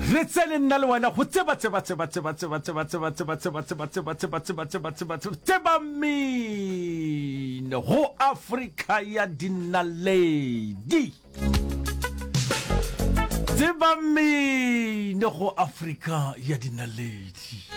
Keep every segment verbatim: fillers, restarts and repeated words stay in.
Re tsene nna le wena go tseba tseba tseba tseba tseba tseba tseba tseba tseba tseba tseba tseba tseba tseba tseba tseba tseba mmino go Afrika ya dinaledi. Tseba mmino go Afrika ya dinaledi.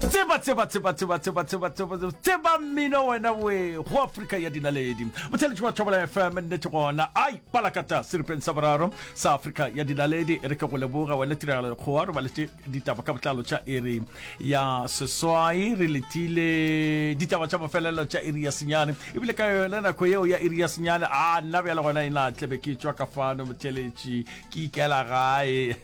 Tseba tseba tseba tseba tseba tseba tseba tseba tseba mmino wena we go Afrika ya dinaledi. Motheletši wa Thobela F M, nnete gona ai palakata seripeng sa boraro sa Afrika ya Dinaledi. E re ke go leboga wena Tiragalo Lekgowa, re baletše ditaba ka botlalo tša iri ya seswai, re letile ditaba tša mafelelo tša iri ya senyane. Ebile ka yona nako yeo ya iri ya senyane, a nna bjale gona e na tlebe ke tšwa ka fano, motheletši, ke ikela gae.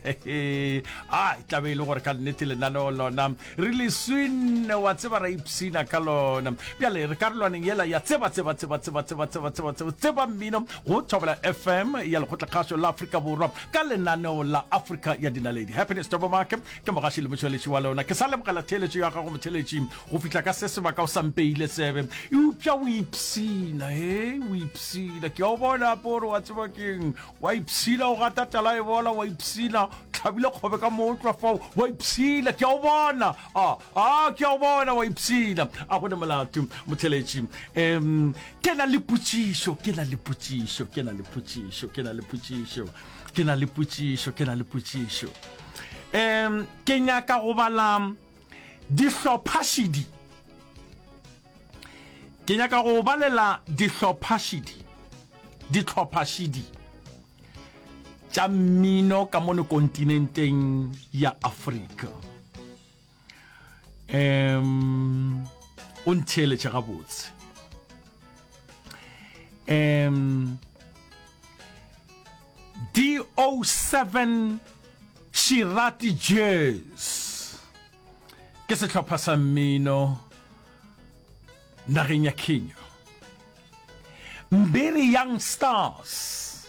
A e tlabe e le gore ka nnete lenaneo lona re le swinne, wa tseba, ra ipshina ka lona. Bjale re karolwaneng yela ya tseba tseba tseba tseba tseba tseba tseba tseba tseba mmino go Thobela F M ya Lekgotlakgašo la Afrika Borwa ka lenaneo la Afrika ya Dinaledi. Happiness Tobomake ke mogaši le motšweletši wa lona. Ke sa lebogela theeletšo ya gago, motheletši, go fihla ka se sebaka o sa mpeile tsebe, eupša o ipshina. He, o ipshina, ke a o bona pore, wa tseba keng, wa ipshina o gata tala e bola, wa ipshina tlhabile kgobe ka mootlwa fao, wa ipshina, ke a o bona, a a ke a o bona, wa ipshina. A gone molato, motheletši. um ke na le potšišo, ke na le potšišo, ke na le potšišo, ke na le potšišo, ke na le potšišo, ke na le potšišo. um ke nyaka go bala dihlophašidi, ke nyaka go balela dihlophašidi, dihlophašidi tša mmino ka mono kontinenteng ya Afrika. um o ntheeletše gabotse. um D O seven Shirati Jazz ke sehlopha sa mmino nageng ya Kenya. Mbiri Young Stars,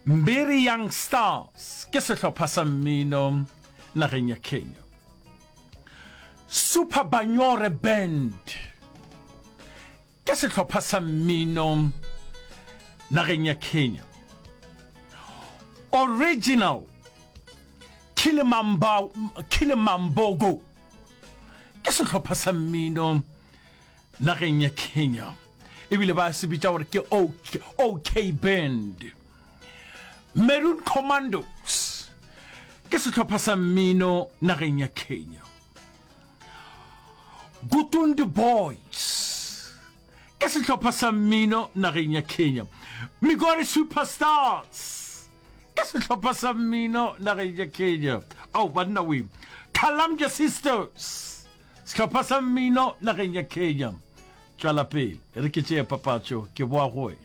Mbiri Young Stars ke sehlopha sa mmino nageng ya Kenya. Super Banyore Band ke sehlopha sa mmino nageng ya Kenya. Original Kilimamba, Kilimambogo ke sehlopha sa mmino nageng ya Kenya, ebile ba se bitša gore ke OK, OK Band. Maroon Commandos ke sehlopha sa mmino nageng ya Kenya. Gutundi Boys ke sehlopha sa mmino nageng ya Kenya. Migori Superstars ke sehlopha sa mmino nageng ya Kenya. Ao banna we. Kalamja Sisters, sehlopha sa mmino nageng ya Kenya. Tšwela pele, re ke tšee papatšo, ke boa go wena.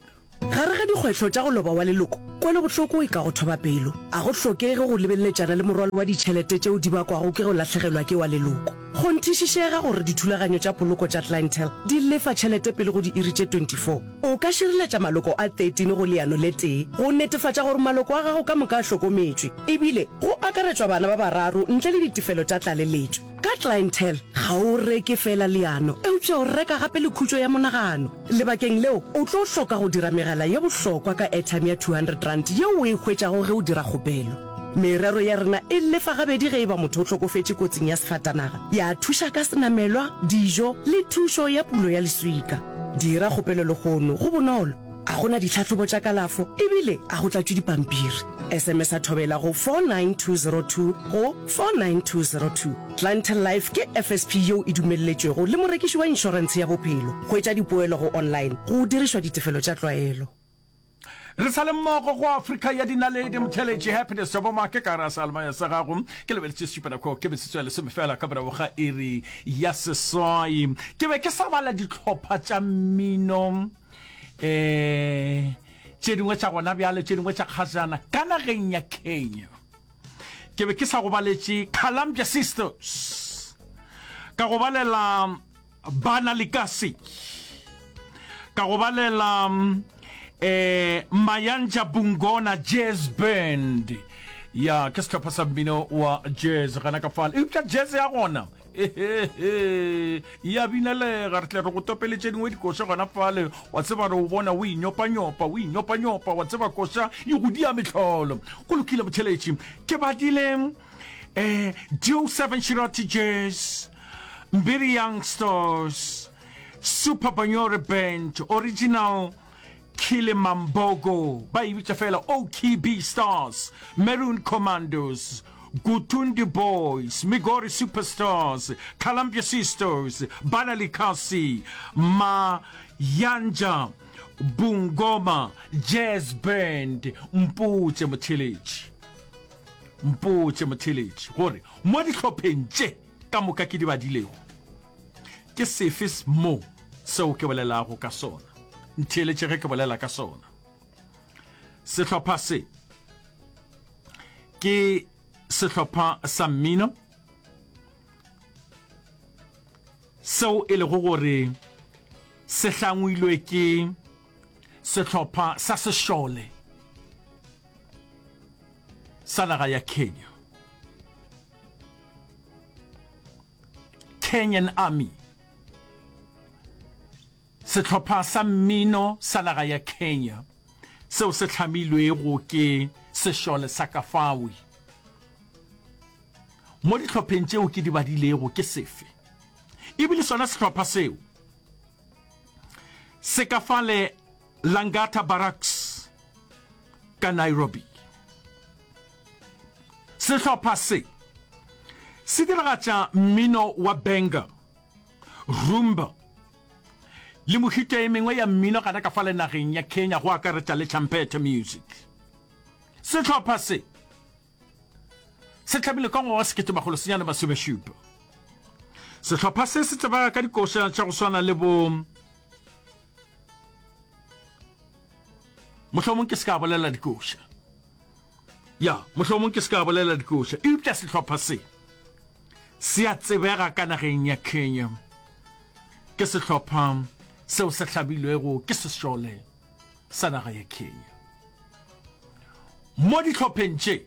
Gare ga dikgwetlho tša go loba wa leloko, kwelobohloko e ka go thoba pelo. A go hlokege go lebeleletšana le morwalo wa ditšhelete tšeo di bakwago ke go lahlegelwa ke wa leloko. Kgonthišišega gore dithulaganyo tša poloko tša Clientele di lefa tšhelete pele go diiri tše twenty-four. O ka šireletša maloko a thirteen go leano le tee go netefatša gore maloko a gago ka moka a hlokometšwe, ebile go akaretšwa bana ba bararo ntle le ditefelo tša tlaleletšo. Ka Clientele, ga o reke feela leano, eupša o reka gape le khutšo ya monagano. Lebakeng leo, o tlo hloka go dira megala ye bohlokwa ka airtime ya two hundred rand yeo o e hwetšago ge o dira kgopelo. Merero ya rena e lefa gabedi ge e ba motho o hlokofetše kotsing ya sefatanaga, ya thuša ka senamelwa, dijo le thušo ya pulo ya leswika. Dira kgopelo lehono, go bonolo, a go na ditlhahlobo tša kalafo ebile a go tlatšwe dipampiri. S M S a Thobela go four nine two zero two go four nine two zero two. Clientele Life ke F S P yeo e dumelletšwego le morekiši wa inšorentshe ya bophelo. Hwetša dipoelo go online go dirišwa ditefelo tša tlwaelo. Re sa le mmogo go Afrika ya Dinaledi, motheletši Happiness Tobomake ka gare seyalemoya sa gago. Ke lebeletše šupanako, ke metsotso ya lesome fela ka morago ga iri ya seswai. Ke be ke sa bala dihlopha tša mmino um tše dingwe tša gona bjale, tše dingwe tša kgajana ka nageng ya Kenya. Ke be ke sa go baletše Columbia Sisters, ka go balela Bana Likasi, ka go balela um Mayanja Bungona Jazz Band. Ya, ke sehlopha sa mmino wa jazz gana ka fale, eupša jazz ya gona e Ya binelega, re tle re go topele tše dingwe dikoša gona fale. Wa tseba re o bona o inyopanyopa, o inyopanyopa, wa tseba koša e go dia mehlolo. Go lokile motheletši, ke badile eh Duo Seven Shirati Jazz, Mbiri Youngsters, Super Banyore Band, Original Kilimambogo, ba e bitša fela O K B Stars, Maroon Commandos, Gutundi Boys, Migori Superstars, Columbia Sisters, Bana Likasi, Mayanja Bungoma Jazz Band. Mpotše motheeletši, mpotše motheeletši gore mo dihlopheng tše ka moka ke di badilego, ke sefe mo seo ke bolelago ka sona? Ntheeletše ge ke bolela ka sona. Sehlopha se ke sehlopha sa mmino seo e lego gore se hlangwilwe ke sehlopha sa sešole sa naga ya Kenya, Kenyan Army. Sehlopha sa mmino sa naga ya Kenya seo se hlamilwego ke sešole sa Kafawi. Mo dihlopheng tšeo ke di badilego ke sefe? E bile sona sehlopha seo se ka fale Langata Barracks ka Nairobi. Sehlopha se se diragatša mmino wa benga, rumba le mehuta e mengwe ya mmino gana ka fale nageng ya Kenya, go akaretša le champeta music. Sehlopha se se hlamilwe ka ngwaga wa sekete makgolo senyane masomešupa. Sehlopha se se tsebega ka dikoša tša go swana le bo Mohlomong ke se ka bolela dikoša. Ya, mohlomong ke se ka bolela dikoša. Eupša sehlopha se se a tsebega ka nageng ya Kenya. Ke sehlopha seo se hlabilwego ke sešole sa naga ya Kenya. Mo dihlopheng tše,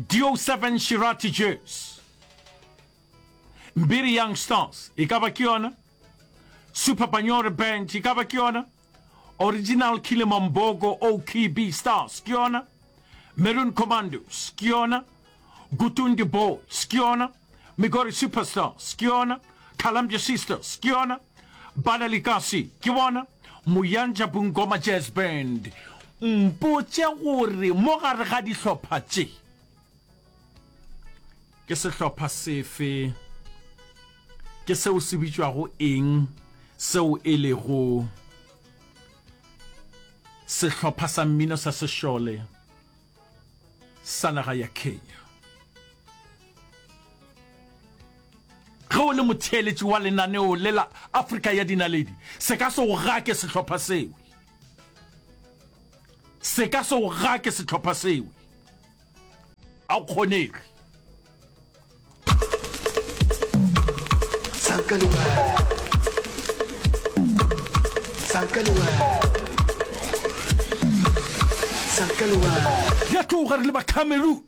Dio Seven Shirati Jazz, Mbiri Young Stars e ka ba ke yona, Super Banyore Band e ka ba ke yona, Original Kilimambogo O K B Stars ke yona, Maroon Commandos ke yona, Gutundi Boys ke yona, Migori Superstars ke yona, Columbia Sisters ke yona, Bana Likasi ke bona, Muyanja Bungoma Jazz Band. Mpotše gore mo gare ga dihlopha tše ke sehlopha sefe, ke seo se bitšwago eng seo e lego sehlopha sa mmino sa sešole sa naga ya Kenya. Ge o le motheeletši wa lenaneo le la Afrika ya Dinaledi, se ka se o gake sehlopha seo. Se ka se o gake sehlopha seo. A o kgonege. Ya tloga re le ba Cameroon.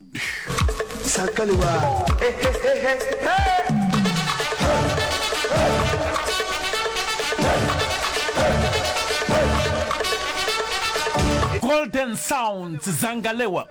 Golden Sounds Zangalewa.